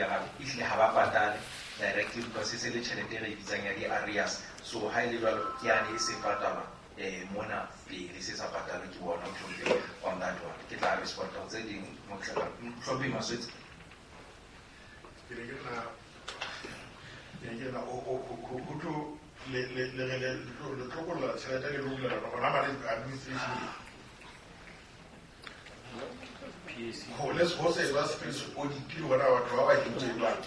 clearang ehlile ha ba patale directly because e se le tjhelete e re e bitsang ya di-arrears. So ha e le jwalo ke yane e se patalwa mona pele se sa patalwe ke bona, mohlomphehi, on that one. Ke tla responda ho tse ding, mohlomphehi Maswetsi. Ke ne ke nna, ke ne ke nna, o, o, o, ho, ho tlo, le, le, le, le, le, le tlo, le tlo kolla tjhelete le lo bulela hona mane administration. Ho le ho se ba space audit le bona batho ba ba entseng jwang.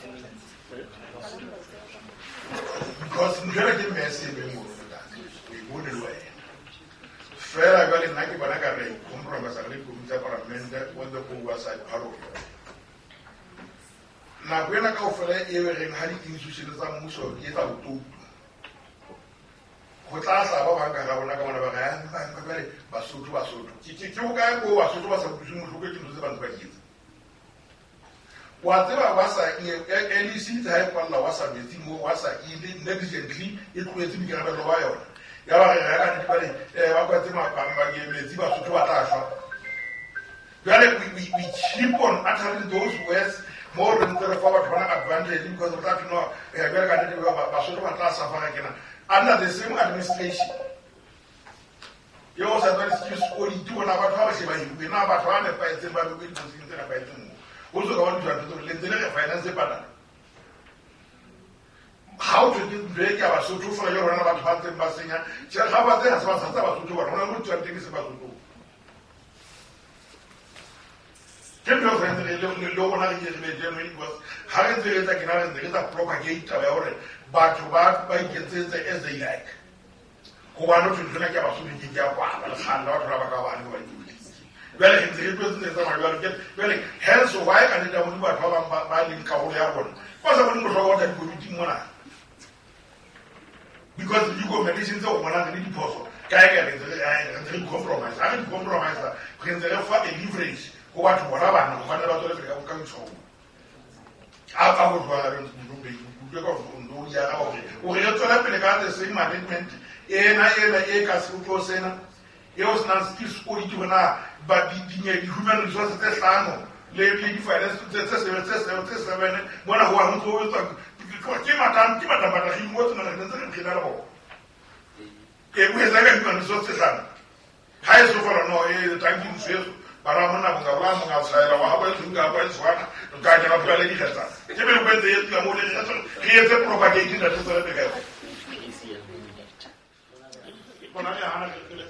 Because ntho ena ke mess e beng mono ntate. O e bone le wena. Fela jwale nna ke bona ka re compromise re le dikomiti tsa palamente on the oversight part of yona. Nako ena kaofela e be reng ha di-institution tsa mmuso di etsa botoutu, ho tla hlaha ba bang ka hara rona ka mona ba re, ah, ba, ba, jwale Basotho, Basotho. Ke, ke, ke hokae koo Basotho ba sa utlwisweng bohloko ke dintho tse ba ntse ba di etsa? Wa tseba wa sa e, e, LEC itse ha e kwalla wa sa metsi moo, wa sa ile negligently e tlohetse boikarabello ba yona. Ya ba re, re ka nnete jwale, ba kwetse metsi, Basotho ba tla shwa. Jwale we keep on uttering those words mo re ntse re fa batho bana advantage because re tla thwe no, jwale ka nnete Basotho ba tla suffer kena under the same administration. Eo sa tswa di-skills audit bona batho ba ba hle ba hiruwe, na batho ba nepahetseng ba bewe diposing tse nepahetseng moo. Ho so ka ba ntho ya ntho tse le ntse le re finance e patala. Ha o thwe ke ntho e ke ya Basotho fela jwale hona batho ba ntseng ba senya. Tjhe, ga ba tse ha se ba sa tsa Basotho bana, hona le mo di tswang teng e se Basotho. Ke ntho e tshwanetse re le rona re ke re be genuine because ha re ntse re etsa kena re ntse re etsa propagate taba ya hore batho ba iketsetse as they like. Hobane ho thwe ntho ena ke ya Basotho, ke ke ya kwala, le kgalla batho ba ba ka bane ba dipolotiki. Jwale re ntse re tlwetse tse tsamaya jwalo. Ke, jwale, hence why ka nnete ya Modimo batho ba bang ba leng karolo ya rona, ba sa boneng bohlokwa ba tla dikomiting mona. Because di-recommendation tse o bonang re le diphoso, kae kae re ntse re, re ntse re di-compromise. Ha re di-compromise, re ntse re fa a leverage ho batho bona bana, hobane ba tswele pele ka boitshwaro. A ka ho jwala re ntse re utlwe ka hore o ntse o di araba hore o re re tswele pele ka the same management ena, ena e ka se sena, eo se nang skills audit hore na ba di, di, di, di-human resources tse hlano le, le di-finance tse, tse seven, tse seven, tse seven, mona ho wa ho ntso ho etswa, ke matang, ke matang, matang, re ingotse mona, re ntse re phela le bona. E, o etsa ka human resources tse hlano. Ha e so fela no, e, tanki ntsho eso. Bana ba monna monga ba monga tshwaela wa habo e tshunga ba e tshwana, re ka kena phela le dikgetsa. Ke be go etse e tla mo le re etse propagate ntate tswele pele ka yona. Bona le hana ke le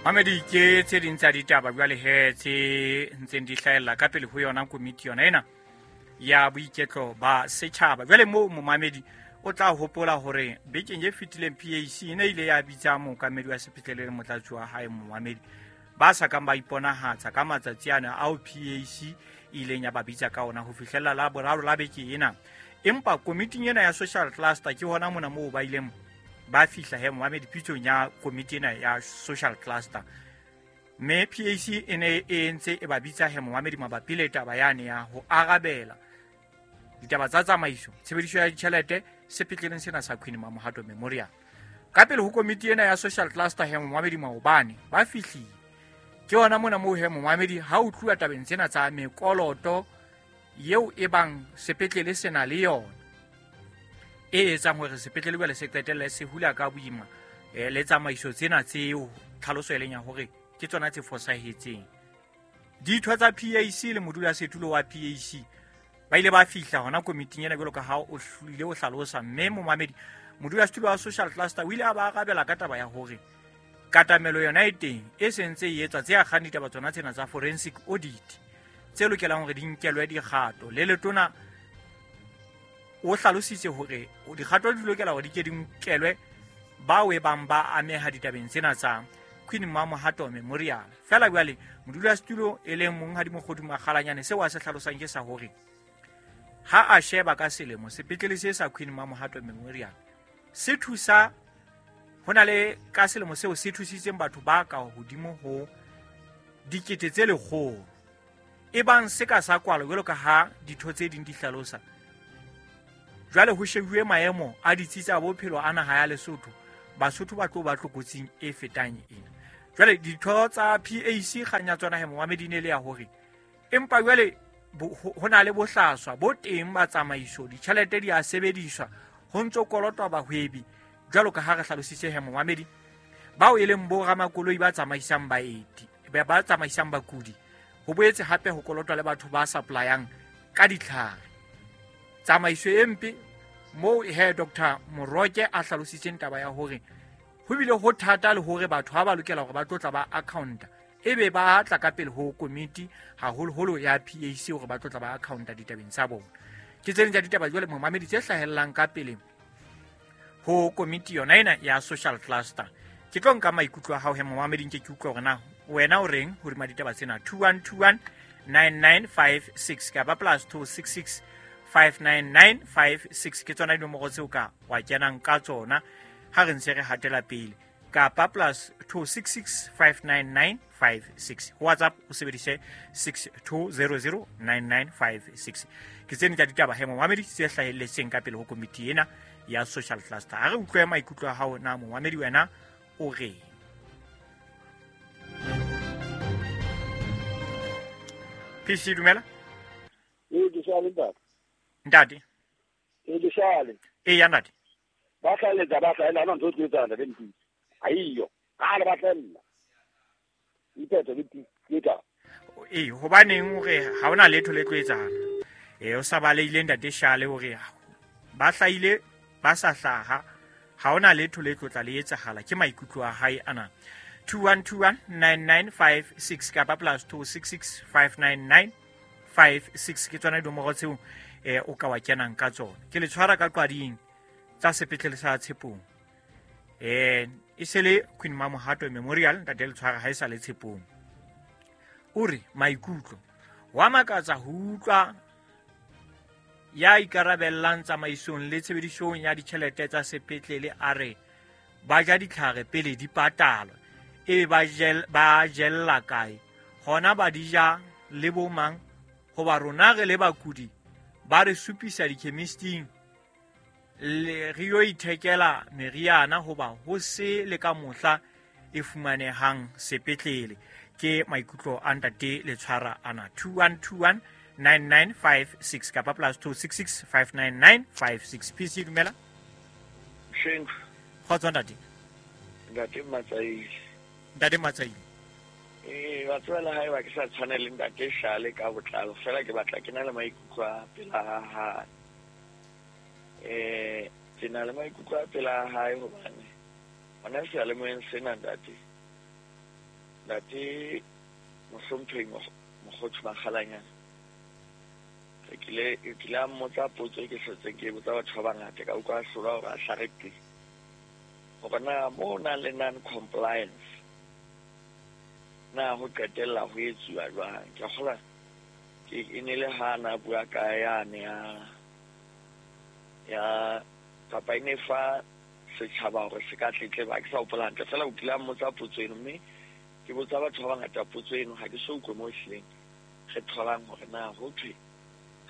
Mamedi, ke tse ding tsa ditaba jwale he tse ntseng di hlahella ka pele ho yona komiti yona ena ya boiketlo ba setjhaba. Jwale moo momamedi o tla hopola hore bekeng e fetileng PAC e ne ile ya bitsa mookamedi wa sepetlele le motlatsi wa hae momamedi ba sa kang ba iponahatsa ka matsatsi ana ao PAC e ileng ya ba bitsa ka ona ho fihlella la boraro la beke ena. Empa komiting ena ya social cluster ke hona mona moo ba ileng ba fihla he momamedi pitsong ya komiti ena ya social cluster. Mme PAC e ne e ntse e ba bitsa he momamedi mabapi le taba yane ya ho arabela ditaba tsa tsamaiso, tshebediso ya ditjhelete sepetleleng sena sa Queen Mamohato Memorial. Ka pele ho komiti ena ya social cluster he momamedi maobane ba fihlile. Ke hona mona moo he momamedi ha o tluwa tabeng tsena tsa mekoloto eo e bang sepetlele se na le yona, e etsang hore sepetlele jwale se qetelle se hula ka boima, le tsamaiso tsena tseo tlhaloso e leng ya hore ke tsona tse fosahetseng. Ditho tsa PAC le modulasetulo wa PAC ba ile ba fihla hona komiting ena jwalo ka ha o ile o hlalosa, mme momamedi modulasetulo wa social cluster o ile a ba arabela ka taba ya hore katamelo yona e teng e sentse e etswa tse akgang ditaba tsona tsena tsa forensic audit tse lokelang hore di nkelwe dikgato. Le letona o hlalositse hore dikgato di lokela hore di ke di nkelwe bao e bang ba ameha ditabeng tsena tsa Queen Mamohato Memorial. Fela jwale modulasetulo e leng monghadi Mokgodu Makgalanyane seo a se hlalosang ke sa hore ha a sheba ka selemo sepetlele se sa Queen Mamohato Memorial se thusa ho na le ka selemo seo se thusitseng batho ba ka hodimo ho dikete tse lekgolo. E bang se ka sa kwalwa jwalo ka ha ditho tse ding di hlalosa. Jwale ho shebuwe maemo a ditsi tsa bophelo a naha ya Lesotho, Basotho ba tlo ba tlokotsing e fetang ena. Jwale ditho tsa PAC kgang ya tsona he momamedi ne le ya hore empa jwale ho na le bohlaswa bo teng ba tsamaiso, ditjhelete di a sebediswa ho ntso kolotwa bahwebi jwalo ka ha re hlalositse he momamedi bao e leng bo ramakoloi ba tsamaisang baeti ba tsamaisang bakudi, ho boetse hape ho kolotwa le batho ba supplyang ka ditlhare. Tsamaiso e mpe moo he Dr. Moroke a hlalositseng taba ya hore ho bile ho thata le hore batho ha ba lokela hore ba tlotla ba accounta ebe ba tla ka pele ho komiti haholoholo ya PAC hore ba tlotla ba accounta ditabeng tsa bona. Ke tse ding tsa ditaba jwale momamedi tse hlahellang ka pele ho komiti yona ena ya social cluster. Ke tlo nka maikutlo a hao he momamedi nke ke utlwe hore na wena o reng hodima ditaba tsena. 2121 9956 kapa plus 266 59956 ke tsona dinomoro tseo ka wa kenang ka tsona ha re ntse re hatela pele, kapa plus 266 59956. WhatsApp o sebedise 6200 9956. Ke tsene tsa ditaba he momamedi tse hlahelletseng ka pele ho komiti ena ya social cluster. Ha re utlwe maikutlo a hao na momamedi wena o reng. PC dumela. Ee ke shale ntate. Ntate. Ee ke shale. Ee ya ntate. Ba hlaeletsa ba hlaela ana ntho tse tsana le ntsi. Aiyo, ha le ba hlaella. Iphethe le tita. Ee hobaneng hore ha hona letho le tlo etsahala. Ee o sa baleile ntate Shale hore ba hlaile ba sa hlaha ha hona letho le tlo tla le etsahala, ke maikutlo a hae ana. 2121 9956 kapa plus 266 59956 ke tsona dinomoro tseo o ka wa kenang ka tsona. Ke le tshwara ka qwading tsa sepetlele sa Tshepong. E se le Queen Mamohato Memorial ntate le tshwara ha e sa le Tshepong. O re maikutlo wa makatsa ho utlwa ya ikarabellang tsamaisong le tshebedisong ya ditjhelete tsa sepetlele a re ba ja ditlhare pele di patalwa, ebe ba jella kae hona ba di ja le bo mang, hoba rona re le bakudi ba re supisa dikhemisting le re yo ithekela meriana hoba ho se le ka mohla e fumanehang sepetlele. Ke maikutlo a ntate le tshwara ana. 2121 9956 kapa plus 266 59956. PC dumela. Sheng. Kgotso ntate. Ntate Matsaile. Ntate Matsaile. Ee wa tswela hae wa ke sa tshwane le ntate Shale ka botlalo fela ke batla ke na le maikutlo a pela hae. Ke na le maikutlo a pela hae hobane hona seyalemoyeng sena ntate. Ntate mohlomphehi Mokgothu Makgalanyana. Ke kile a mmotsa potso e ke hlotseng ke botsa batho ba bangata ka utlwa a hlolwa hore a hlare qi. Hore na mo nang le non-compliance na ho qetella ho etsuwa jwang. Ke kgola ke e ne le ha na bua ka yane ya kapa e ne fa setjhaba hore se ka tletleba, ke sa hopola hantle fela o kile a mmotsa potso eno, mme ke botsa batho ba bangata potso eno ha ke so utlwe mo ehlileng re tholang hore na ho thwe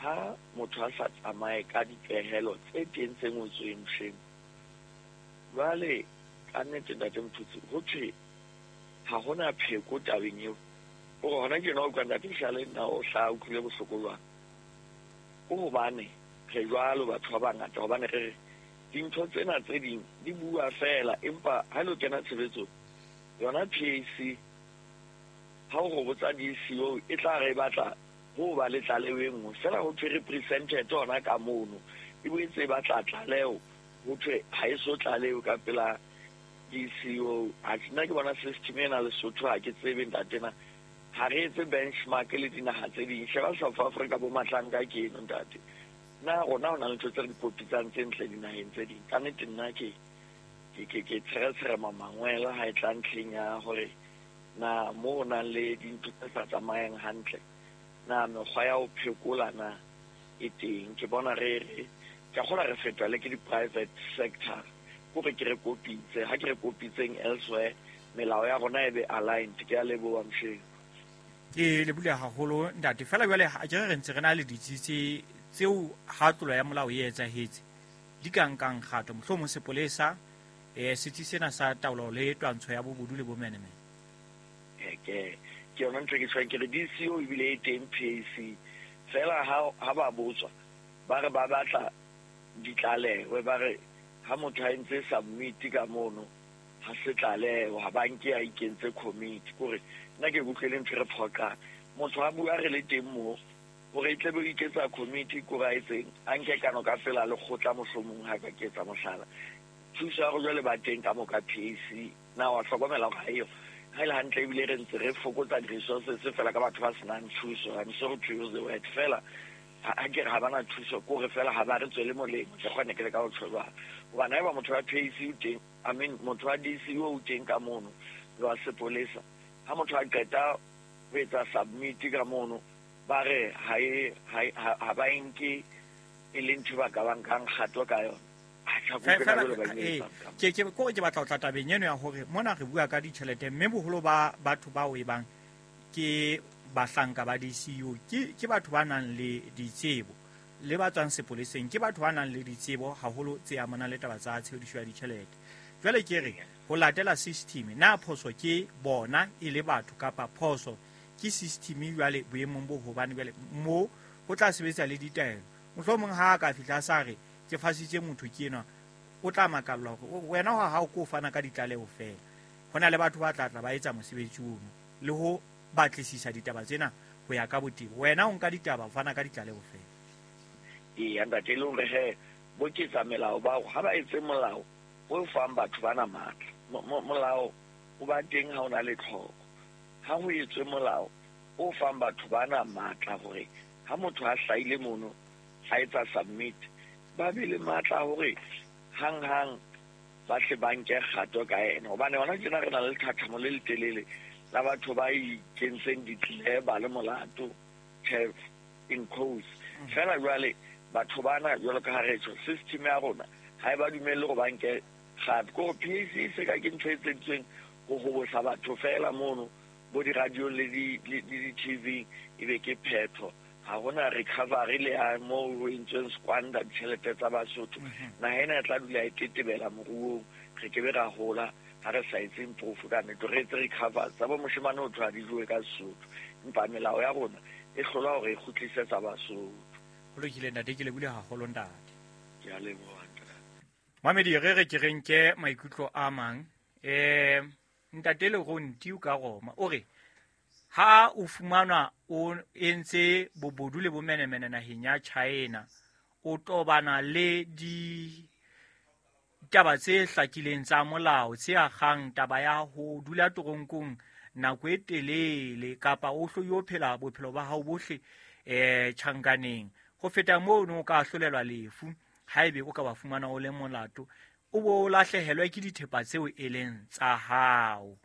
ha motho a sa tsamaye ka dipehelo tse teng tse ngotsweng mosheng. Jwale ka nnete ntate Mphutsi ho thwe ha hona pheko tabeng eo. Hore hona ke nna o utlwa ntate Shale nna o hlaha utlwile bohloko jwang. Ke hobane re jwalo batho ba bangata, hobane re re dintho tsena tse ding di bua fela, empa ha lo kena tshebetsong yona PAC ha o go botsa DCO e tla re batla ho ba le tlaleho e nngwe fela ho thwe represented hona ka mono, e boetse e batla tlaleho ho thwe ha e so tlaleho ka pela DCO. Ha nna ke bona system ena Lesotho ha ke tsebe ntate na ha re etse benchmark le dinaha tse ding. Sheba South Africa bo Matlanka ke eno ntate. Na rona ho na le ntho tse re di kopitsang tse ntle dinaheng tse ding. Ka nnete nna ke tsheretshera mangwele ha e tla ntlheng ya hore na mo ho nang le dintho tse sa tsamayeng hantle na mekgwa ya ho phekola na e teng. Ke bona re ke kgola re fetwa le ke di-private sector kore ke re kopitse ha ke re kopitseng elsewhere melao ya rona e be aligned. Ke a leboha msheng. Ke lebule haholo ntate. Fela jwale ha ke re ntse re na le ditsi tseo ha tlolo ya molao e etsahetse di ka nkang kgato, mohlomong sepolesa setsi sena sa taolo le twantsho ya bobodu le bomenemene. Ke yona ntho e ke tshwang ke re DCO ebile e teng PAC fela ha ba botswa ba re ba batla ditlaleho, ba re ha motho a entse submit ka mono ha se tlaleho, ha ba nke a ikentse committee. Kore nna ke kutlwele ntho re phoqang motho a bua re le teng moo hore e tle be o iketsa committee, kore a etseng a nke kano ka pela lekgotla mohlomong ha ka ke etsa mohlala. Thuso ya go jwale ba teng ka mo ka PAC na wa hlokomela hore ha eyo ha ile hantle, ebile re ntse re fokotsa di-resources fela ka batho ba senang thuso. I'm sorry to use the word fela ha ke re ha bana thuso, kore fela ha ba re tswele molemo. Ke kgone ke le ka ho tjho jwalo hobane haeba motho wa PAC o teng, I mean motho wa DCO o teng ka mono le wa sepolesa, ha motho a qeta ho etsa submit ka mono ba re ha ba nke e le ntho ba ka ba nkang kgato ka yona. Ke kore ke batla ho tla tabeng eno ya hore mona re bua ka ditjhelete, mme boholo ba batho bao e bang ke bahlanka ba DCU ke batho ba nang le ditsebo, le ba tswang sepoleseng ke batho ba nang le ditsebo haholo tse amanang le taba tsa tshebediso ya ditjhelete. Jwale ke re ho latela system, na phoso ke bona e le batho kapa phoso ke system jwale boemong bo hobane jwale mo ho tla sebetsa le ditaelo. Mohlomong ha a ka fihla sa re ke fasitse motho ke enwa, o tla makallwa hore wena ha o ko fana ka ditlaleho fela. Ho na le batho ba tla tla ba etsa mosebetsi ono le ho batlisisa ditaba tsena ho ya ka botebo. Wena o nka ditaba o fana ka ditlaleho fela. Eya ntate, le hore he bo ketsa melao bao ha ba etse molao o fang batho bana matla. Molao o ba teng ha o na le tlhoko. Ha ho etswe molao o fang batho bana matla hore ha motho a hlahile mono a etsa submit, ba be le matla hore hang-hang ba tle ba nke kgato ka ena. Hobane hona tjena re na le lethathamo le letelele la batho ba ikentseng ditleba le molato in quotes. Fela jwale batho bana jwalo ka ha re tjho system ya rona ha e ba dumelle hore ba nke kgato. Kore PAC se ka ke ntho e etseditsweng ho hobosa batho fela mono bo di-radio le di-TV, ebe ke phetho. Ha hona recovery le ya moo ho entsweng squander ditjhelete tsa Basotho. Naha ena e tla dula e tetebela moruong, re ke be ra hola ha re sa etseng proof ka nnete, re etse recover tsa bo moshemane ho thwa di jowe ka Sesotho, empa melao ya rona e hlola hore e kgutlisetsa Basotho. Ho lokile ntate, ke lebohile haholo ntate. Ke a leboha ntate. Mamedi, re re ke re nke maikutlo a mang. Ntate Leronti o ka Roma o re ha o fumanwa o entse bobodu le bomenemene naheng ya China, o tobana le ditaba tse hlakileng tsa molao tse akgang taba ya ho dula toronkong nako e telele kapa o hlo yo phela bophelo ba hao bohle tjhankaneng. Ho feta mono o ka ahlolelwa lefu haebe o ka ba fumana o le molato, o bo lahlehelwe ke dithepa tseo e leng tsa hao.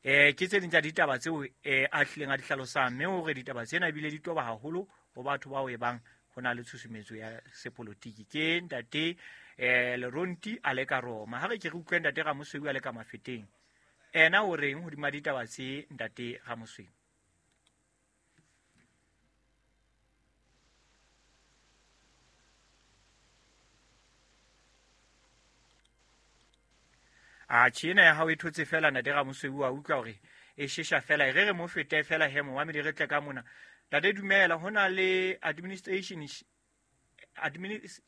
Ke tse ding tsa ditaba tseo a hlileng a di hlalosang, mme hore ditaba tsena ebile di toba haholo ho batho bao e bang ho na le tshusumetso ya sepolotiki. Ke ntate Leronti a le ka Roma. Ha re ke re utlwe ntate Ramosweu a le ka Mafeteng, ena o reng hodima ditaba tse ntate Ramosweu? A tjhena ya hao e thotse fela ntate Ramosweu, wa utlwa hore e shesha fela, e re re mo fete fela he momamedi re tle ka mona. Ntate dumela, ho na le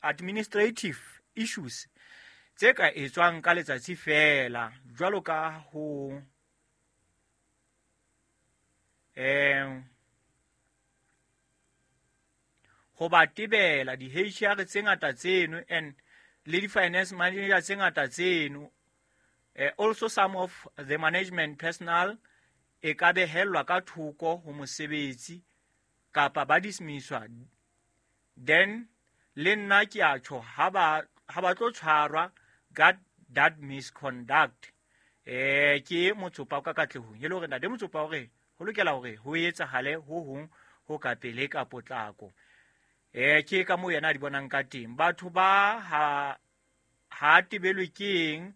administrative issues tse ka etswang ka letsatsi fela, jwalo ka ho ho ba tebela di-HR tse ngata tseno and le di-finance manager tse ngata tseno. Also some of the management personnel e ka behellwa ka thoko ho mosebetsi kapa ba dismisswa. Then le nna ke a tjho ha ba tlo tshwarwa ka that misconduct. Ke motsopa ka katlehong e le hore ntate motsopa hore ho lokela hore ho etsahale ho hong ho ka pele ka potlako. Ke ka moo yena a di bonang ka teng. Batho ba ha tebelwe keng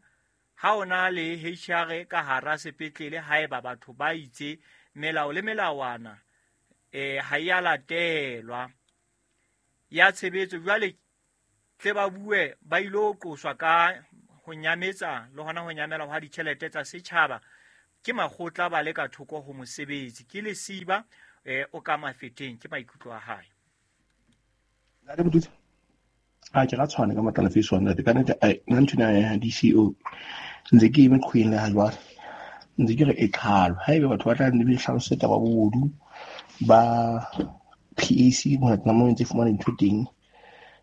ha ona le HR ka hara sepetlele haeba batho ba itse melao le melawana ha ya latelwa ya tshebetso. Jwale tle ba bue ba ilo qoswa ka ho nyametsa le hona ho nyamela ha ditjhelete tsa setjhaba Ke makgotla ba le ka thoko ho mosebetsi. Ke lesiba o ka mafeteng, ke maikutlo a hae. Ntate Motutsi, a ke ra tshwana ka matlala face one ntate. Ka nnete nna nthwena ya DCO ntse ke eme qhweng le ha jwale. Ntse ke re e qhalo. Haebe batho ba tla nne be hlalose taba bobodu ba PAC mona mo ntse fumana dintho teng.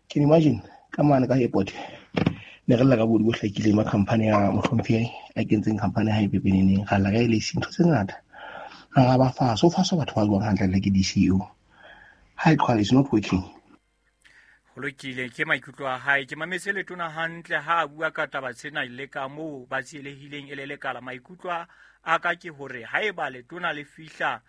Can you imagine ka mane ka airport ne re lla ka bobodu bo hlakileng ba company ya mohlomphehi a kentseng company ha e pepeneneng, ra lla ka LAC ntho tse ngata. Mara ba fa so fa so batho ba buang hantle le ke DCO. Ha e qhwale, it's not working. Ho lokile, ke maikutlo a hae. Ke mametse letona hantle ha a bua ka taba tsena le ka moo ba tsielehileng e le lekala. Maikutlo a ka ke hore haeba letona le fihla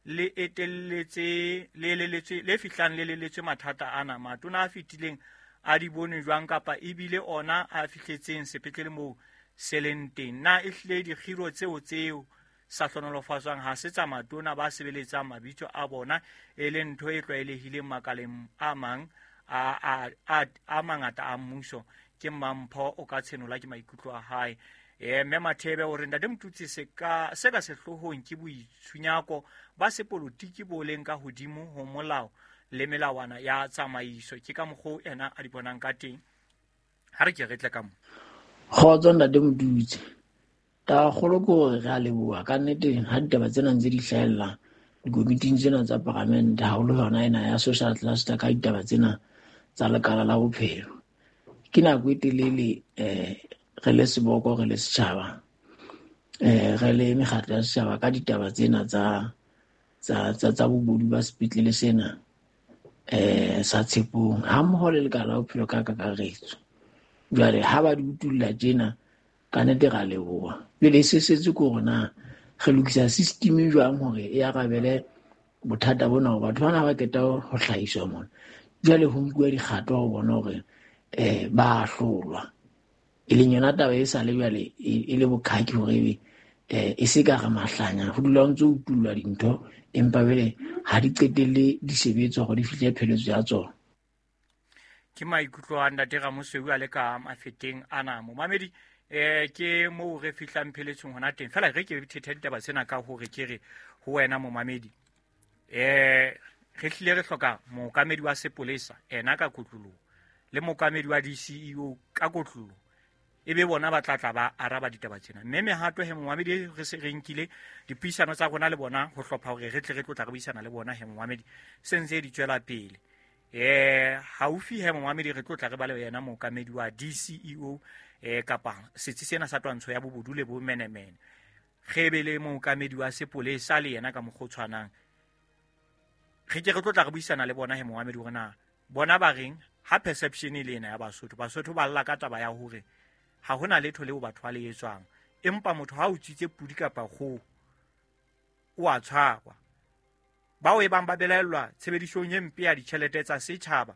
le etelletse le eleletswe le fihlang le eleletswe mathata ana, matona a fetileng a di bone jwang kapa ebile ona a fihletseng sepetlele moo se leng teng. Na ehlile dikgiro tseo sa hlonolofatswang ha se tsa matona ba sebeletsang mabitso a bona, e leng ntho e tlwaelehileng makaleng a mang a mangata a mmuso. Ke Mampho o ka tshenola ke maikutlo a hae. Mme Mathebe o re ntate Motutsi se ka sehloohong ke boitshunyako ba sepolotiki bo leng ka hodimo ho molao le melawana ya tsamaiso. Ke ka mokgwa ena a di bonang ka teng. Ha re ke re tle ka mo. Kgotso ntate Motutsi. Taba kgolo ke hore re a leboha ka nnete ha ditaba tsena ntse di hlahella dikomiting tsena tsa paramente, haholo yona ena ya social cluster ka ditaba tsena tsa lekala la bophelo. Ke nako e telele re le seboko, re le setjhaba, re le mekgatlo ya setjhaba ka ditaba tsena tsa bobodu ba sepetlele sena sa Tshepong, ha mmoho le lekala la bophelo ka kakaretso. Jwale ha ba di utulla tjena, ka nnete ra leboha. Pele se setse ke hore na re lokisa system jwang hore e arabele bothata bona, hore batho bana ba qeta ho hlahiswa mona. Jwale ho nkuwa dikgato ho bona hore ba hlolwa. E leng yona taba e sa le jwale e le bokhaki hore ebe e se ka re mahlanya, ho dula ho ntso utullwa dintho empa jwale ha di qetelle di sebetswa hore di fihle pheletso ya tsona. Ke maikutlo a ntate Ramosweu a le ka mafeteng ana. Momamedi, ke moo re fihlang pheletsong hona teng. Feela re ke thethe ditaba tsena ka hore ke re ho wena momamedi, re hlile re hloka mookamedi wa sepolesa ena ka kotloloho le mookamedi wa DCEO ka kotloloho, ebe bona ba tla tla ba araba ditaba tsena. Mme mehato he momamedi re se re nkile dipuisano tsa rona le bona ho hlopha hore re tle re tlotla re buisana le bona he momamedi, se ntse di tswela pele. Haufi he momamedi re tlotla re ba le yena mookamedi wa DCEO kapa setsi sena sa twantsho ya bobodu le bomenemene, re be le mookamedi wa sepolesa le yena ka mokgwa o tshwanang. Re ke re tlotla re buisana le bona he momamedi hore na bona ba reng ha perception e le ena ya Basotho. Basotho ba lla ka taba ya hore ha hona letho leo batho ba le etswang, empa motho ha o utswitse pudi kapa kgoho o a tshwarwa. Bao e bang ba belaellwa tshebedisong e mpe ya ditjhelete tsa setjhaba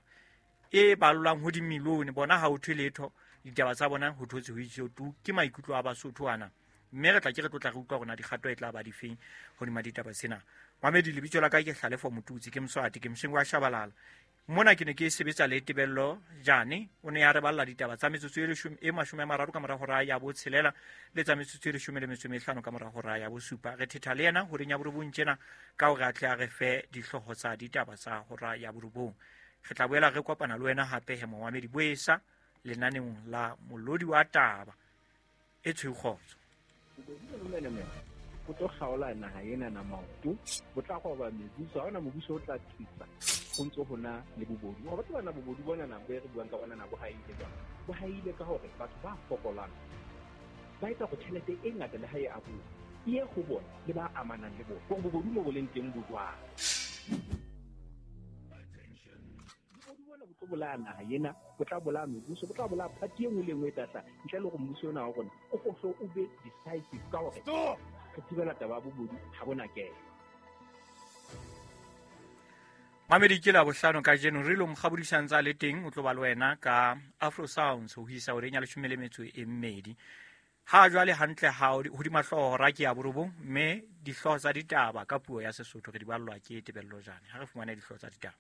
e ballwang ho dimilione, bona ha ho thwe letho, ditaba tsa bona ho thotse ho itse tu. Ke maikutlo a Basotho ana, mme re tla ke re tlotla re utlwa rona dikgato e tla ba difeng hodima ditaba tsena. Mamedi, lebitso la ka ke Hlalefo Motutsi, ke Mswati, ke Mshengu wa Shabalala. Mona ke ne ke sebetsa le Tebello Jane, o ne a re balla ditaba tsa metsotso e 30 ka mora hora ya 6 le tsa metsotso e 15 ka mora hora ya 7. Re thetha le yena horeng ya 9 tjena ka hore a tle a re fe dihlooho tsa ditaba tsa hora ya 9. Re tla boela re kopana le wena hape he momamedi boesa lenaneong la Molodi wa Taba e tshweu kgotso. Bo tlo kgaola naha ena na maoto, bo tla roba mebuso, ha hona mobuso o tla thusa ho ntso hona le bobodu. Wa batho bana bobodu bona na bo re buang ka bona na bo haile jwang? Bo haile ka hore batho ba fokolang ba etsa hore tjhelete e ngata le ha e abuwa e ye ho bona le ba amanang le bona. Hore bobodu mo bo leng teng bo jwang? Bobodu bona bo tlo bolaya naha ena, bo tla bolaya mebuso, bo tla bolaya party e nngwe le e nngwe e tla hlaha ntle le hore mmuso ona wa rona o hlo o be decisive ka hore re thibela taba ya bobodu ha bona kelo. Mamedi, ke la bohlano kajeno re lo mokgabodisang tsa le teng, o tlo ba le wena ka Afro Sounds ho isa horeng ya 12. Ha jwale hantle ha hodima hlooho hora ke ya 9, mme dihlooho tsa ditaba ka puo ya Sesotho re di ballwa ke Tebello Jane. Ha re fumane dihlooho tsa ditaba.